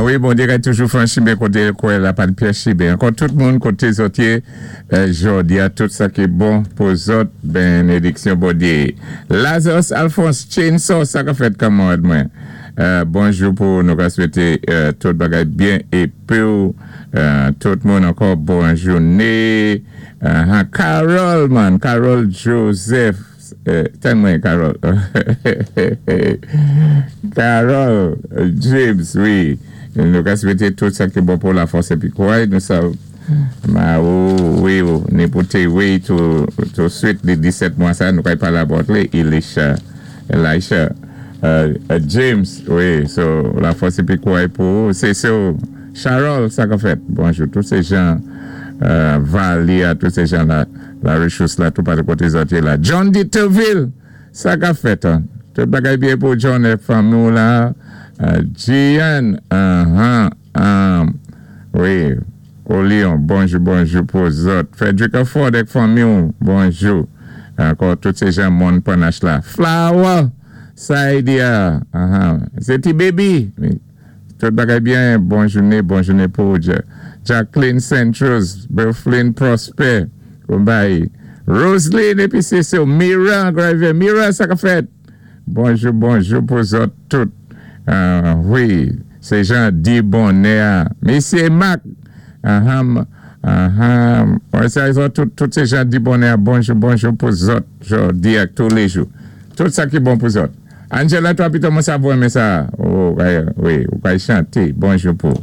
Wi, Bondyé kay toujou fè an chimen koté l kwè la pa ni pyès chimen. Ankò tout moun koté zòt yé jòdi a, tout sa ki bon pou zòt, benediksyon Bondyé. Lazarus Alphonse Chainsaw, sa ka fèt, kanmarad mwen? Bonjou pou ou, nou ka swété tout bagay byen épi w tout moun ankò bon jouné. Carol man, Carol Joseph. Tann mwen, Carol. Carol James, wi. Nou ka swété tout sa ki bon pou lafòs épi kouray. Nou sav ma ou, wi, ou ni pou té wi tou swit li 17 mwa sa nou kay palé about li Elisha Elisha James, wi. So lafòs épi kouray pou ou. Se so Charol, sa ka fèt? Bonjou tout sé jan Vali a, tout sé jan la. La Richous la tou pale koté zòt yé la. John Diterville! Sa kap fèt an? Tout bagay byen pou John et fanmi w la? Jean Ahan Ahm Wi Olion bonjou bonjou pou zòt. Frederica Ford ek fanmi w bonjou. Ankò tout se jan Mòn Panache la. Flower! Saidia Ahan Se ti baby! Tout bagay byen, bon jouné, bon jouné pou ou Jacqueline Saint-Rose, Berflin Prosper, Bombay, Roseline épi sé sou Mira Griver, Mira, sa ka fèt? Bonjou, bonjou pou zòt tout. Wi, sé jan di bonnè a. Misyé Mac, aham, aham, wè sa zòt tout, tout sé jan di bonnè a. Bonjou, bonjou pou zòt jòdi ak touléjou. Tout sa ki bon pou zòt. Angela, twa pito mwen sa pou renmen sa. Oh, wi, ou kay chanté. Bonjou pou.